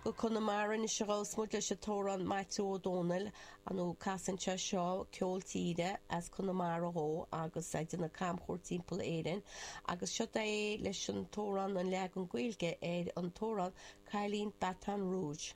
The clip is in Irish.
Go Conamara anois a ghabhfas muid leis an t-amhrán Maitiú Ó Dónaill, ar ndóigh casann sé seo ceol tíre as Conamara dhó agus é ag déanamh camchuairt timpeall Éirinn agus seo é leis an t-amhrán, an leagan Gaeilge ar an t-amhrán Cailín Baton Rouge.